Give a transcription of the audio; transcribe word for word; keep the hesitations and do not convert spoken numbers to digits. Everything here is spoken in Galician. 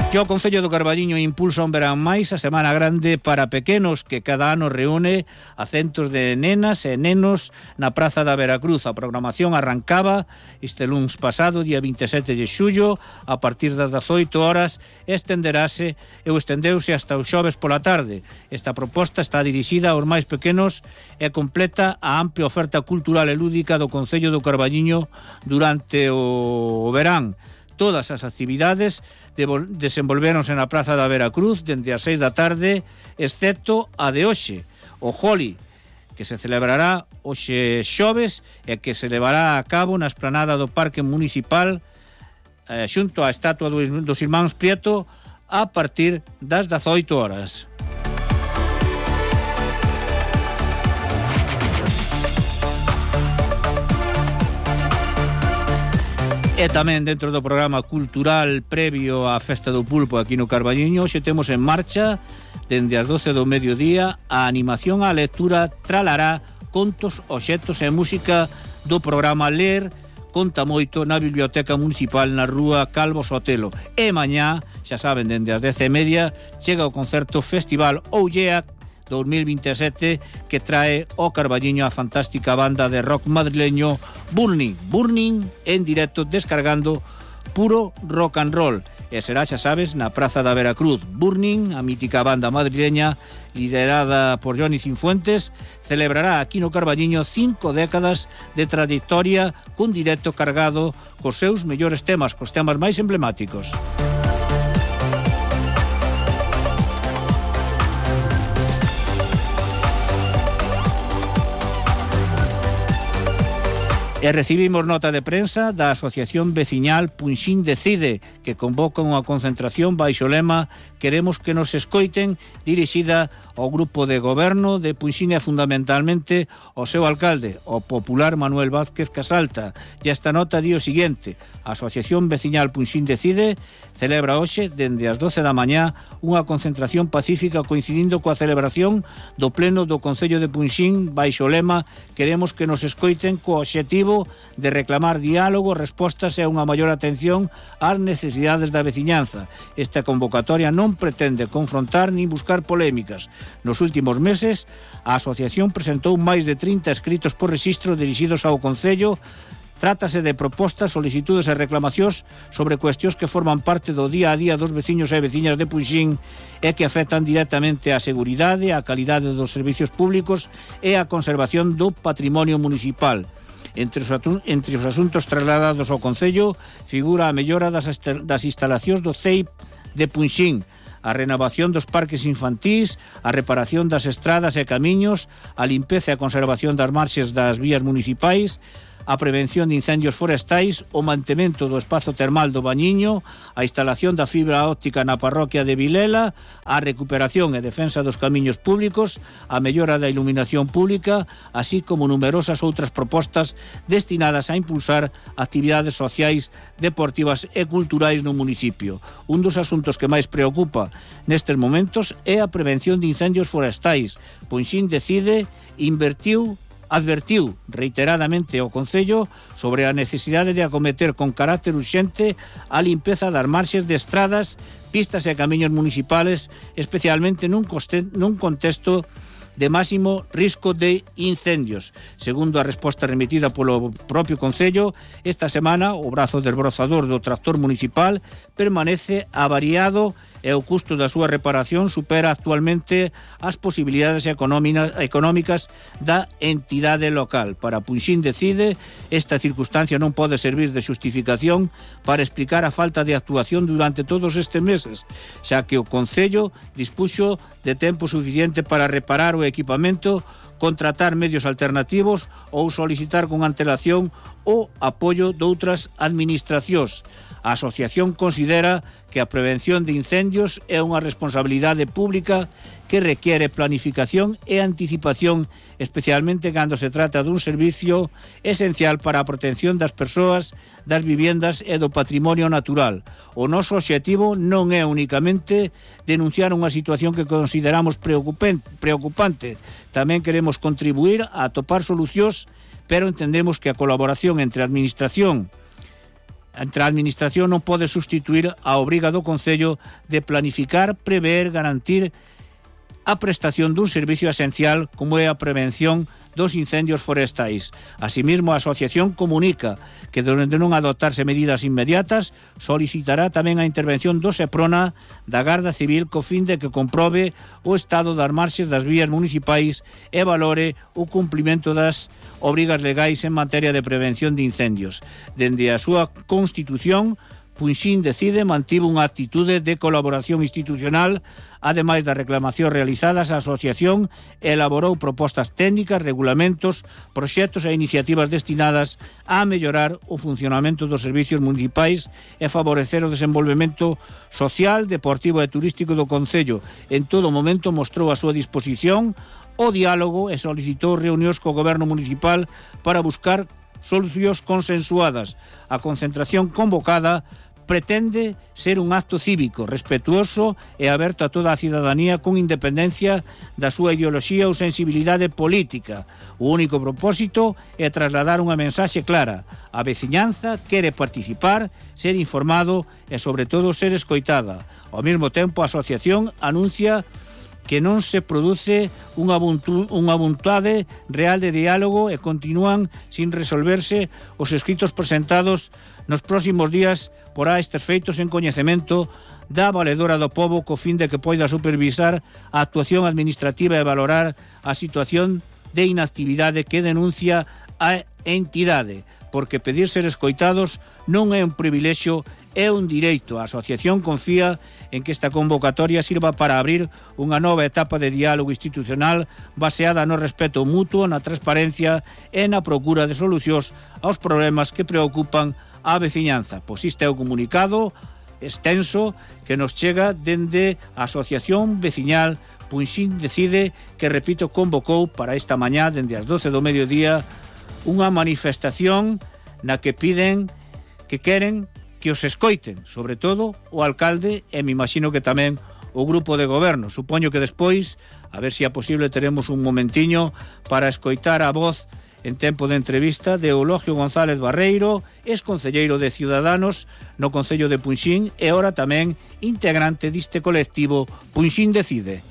Que o Concello do Carballiño impulsa un verán máis a Semana Grande para pequenos que cada ano reúne a centos de nenas e nenos na Praza da Veracruz. A programación arrancaba este luns pasado, día vinte e sete de xullo, a partir das dezoito horas, estenderase e estendeuse hasta os xoves pola tarde. Esta proposta está dirixida aos máis pequenos e completa a amplia oferta cultural e lúdica do Concello do Carballiño durante o verán. Todas as actividades desenvolvéronse na Praza da Veracruz dende as seis da tarde, excepto a de hoxe, o Holi, que se celebrará hoxe xoves e que se levará a cabo na esplanada do Parque Municipal eh, xunto á estatua dos, dos Irmáns Prieto a partir das dezoito horas. E tamén dentro do programa cultural previo á Festa do Pulpo aquí no Carballiño, hoxe temos en marcha, dende as doce do mediodía, a animación á lectura Tralará, contos, obxectos e música do programa Ler Conta Moito na Biblioteca Municipal na Rúa Calvo Sotelo. E mañá, xa saben, dende as dez e media, chega o concerto Festival Oulleac dos mil vinte e sete que trae ao Carballiño a fantástica banda de rock madrileño Burning. Burning en directo descargando puro rock and roll. E será, xa sabes, na Praza da Veracruz. Burning, a mítica banda madrileña liderada por Johnny Cinfuentes, celebrará aquí no Carballiño cinco décadas de trayectoria cun directo cargado cos seus mellores temas, cos temas máis emblemáticos. E recibimos nota de prensa da Asociación Veciñal Punxín Decide, que convoca unha concentración baixo o lema Queremos que nos escoiten, dirixida ao grupo de goberno de Punxín e fundamentalmente ao seu alcalde, o popular Manuel Vázquez Casalta. E esta nota di o seguinte: a Asociación Veciñal Punxín Decide celebra hoxe, dende as doce da mañá, unha concentración pacífica coincidindo coa celebración do pleno do Concello de Punxín baixo o lema Queremos que nos escoiten, co obxectivo de reclamar diálogo, respostas e unha maior atención ás necesidades da veciñanza. Esta convocatoria non pretende confrontar nin buscar polémicas. Nos últimos meses, a asociación presentou máis de trinta escritos por rexistro dirixidos ao Concello. Trátase de propostas, solicitudes e reclamacións sobre cuestións que forman parte do día a día dos veciños e veciñas de Punxín e que afectan directamente á seguridade, á calidade dos servicios públicos e á conservación do patrimonio municipal. Entre os, entre os asuntos trasladados ao Concello figura a mellora das, das instalacións do C E I P de Punxín, a renovación dos parques infantís, a reparación das estradas e camiños, a limpeza e a conservación das marxes das vías municipais, a prevención de incendios forestais, o mantemento do espazo termal do Bañiño, a instalación da fibra óptica na parroquia de Vilela, a recuperación e defensa dos camiños públicos, a mellora da iluminación pública, así como numerosas outras propostas destinadas a impulsar actividades sociais, deportivas e culturais no municipio. Un dos asuntos que máis preocupa nestes momentos é a prevención de incendios forestais. Punxín Decide invertiu advertiu reiteradamente ao Concello sobre a necesidade de acometer con carácter urxente a limpeza das marxes de estradas, pistas e camiños municipales, especialmente nun, coste, nun contexto de máximo risco de incendios. Segundo a resposta remitida polo propio Concello, esta semana o brazo desbrozador do tractor municipal permanece avariado e o custo da súa reparación supera actualmente as posibilidades económicas da entidade local. Para Punxín Decide, esta circunstancia non pode servir de xustificación para explicar a falta de actuación durante todos estes meses, xa que o Concello dispuxo de tempo suficiente para reparar o equipamento, contratar medios alternativos ou solicitar con antelación o apoio doutras administracións. A asociación considera que a prevención de incendios é unha responsabilidade pública que requiere planificación e anticipación, especialmente cando se trata dun servicio esencial para a protección das persoas, das viviendas e do patrimonio natural. O noso obxectivo non é únicamente denunciar unha situación que consideramos preocupante. Tamén queremos contribuir a atopar solucións, pero entendemos que a colaboración entre a administración entre a Administración non pode sustituir a obriga do Concello de planificar, prever, garantir a prestación dun servicio esencial como é a prevención dos incendios forestais. Asimismo, a asociación comunica que, de non adoptarse medidas inmediatas, solicitará tamén a intervención do SEPRONA da Garda Civil co fin de que comprobe o estado das marxes das vías municipais e valore o cumprimento das obrigas legais en materia de prevención de incendios. Dende a súa constitución, Punxín Decide mantivo unha actitude de colaboración institucional. Ademais das reclamacións realizadas, a asociación elaborou propostas técnicas, regulamentos, proxectos e iniciativas destinadas a mellorar o funcionamento dos servicios municipais e favorecer o desenvolvemento social, deportivo e turístico do Concello. En todo momento mostrou a súa disposición o diálogo e solicitou reunións co Goberno municipal para buscar solucións consensuadas. A concentración convocada pretende ser un acto cívico, respetuoso e aberto a toda a cidadanía con independencia da súa ideoloxía ou sensibilidade política. O único propósito é trasladar unha mensaxe clara. A veciñanza quere participar, ser informado e, sobre todo, ser escoitada. Ao mesmo tempo, a asociación anuncia que non se produce unha, unha vontade real de diálogo e continúan sin resolverse os escritos presentados nos próximos días. Porá estes feitos en coñecemento da valedora do pobo co fin de que poida supervisar a actuación administrativa e valorar a situación de inactividade que denuncia a entidade, porque pedir ser escoitados non é un privilexio, é un direito. A asociación confía en que esta convocatoria sirva para abrir unha nova etapa de diálogo institucional baseada no respeto mutuo, na transparencia e na procura de solucións aos problemas que preocupan a veciñanza. Pois isto é o comunicado extenso que nos chega dende a Asociación Veciñal Punxín Decide, que, repito, convocou para esta mañá, dende as doce do mediodía, unha manifestación na que piden, que queren que os escoiten, sobre todo o alcalde e me imagino que tamén o grupo de goberno. Supoño que despois, a ver se é posible, teremos un momentiño para escoitar a voz en tempo de entrevista de Eulogio González Barreiro, ex-concelleiro de Ciudadanos no Concello de Punxín e ora tamén integrante diste colectivo Punxín Decide.